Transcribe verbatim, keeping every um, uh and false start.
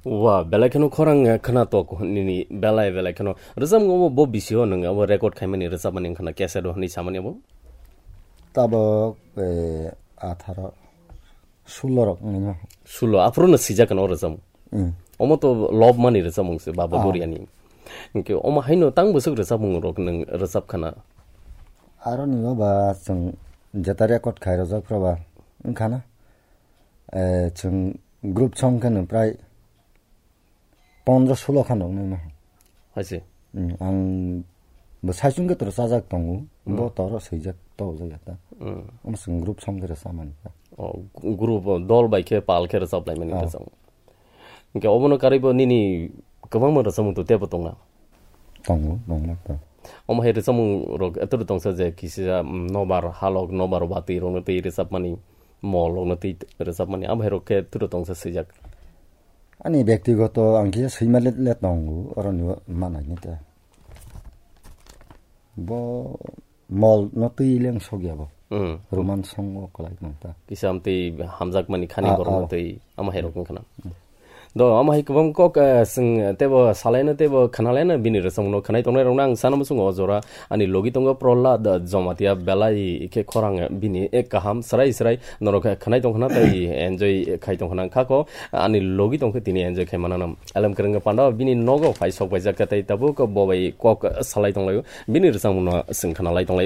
Wa, belai kheno khorang, eh, khna tok nini belai, belai kheno. Rwchapmung obo bo bisio nwng abo record khaimani rwchapmani wngkhana cassette o hwnwi samani abo? Tabok, eh, atharo, sulo rok wngwi ma. Sulo, aphuru no swijak kano rwchapmung. Mm. Omo to love mani rwchapmung se, Baba Ah. Goriani. Hwnkhe omo haino tang bwswk rwchapmung rok nwng rwchap khana? Aro ni ba chwng jeta record khai rwjak phra ba wngkhana. Eh, chwng group song khe no prai pondro sulo khan rok nai ma. Hai se. Hmm, ang bo saichung khe toro chajak tongo, bo Hmm. toro swijak tojak ya ta. Hmm. Omo chwng group song khe rwchapmani ta. Oh, group, oh, dol bai khe pal khe rwchap lai mani Oh. rwchapmung. Hwnkhe obono karwi bo nini kwbangma rwchapmung to tebo tongna? Tongo, nongna to. Omo hai rwchapmung rok etoro tongsa je kisa, mm, nobar halok, nobar watwi rokno twi rwchapmani, mol rokno twi rwchapmani, abo hai rok khe etoro tongsa swijak. Ani byaktigoto ang kisa swima le, le tongo, oroni manai ni ta. Bo mol no twi leng sogya bo. Hmm. Roman song o kwlai nang ta. Kisa amtwi hamjakmani khani Ah, borok ah. no twi ama hai rok wngkha na. Hmm. Do ama hai kwbang kok, eh, swng tebo salaino tebo khanalaino bini rwchapmung no khanai tongnai rok no ang sana muchungo o jora ani logi tongo Prohlad Jomatia belai khe khorang bini ek kaham srai srai norok khanai tongkhana tei enjoy khai tongkhana khako ani logi tongkhe tini enjoy khai manana. Elem kwrwngni panda bini nogo phai sok baijak khe tei tabuk bo bai kok salai tonglaio. Bini rwchapmung no swng khana lai tong lai.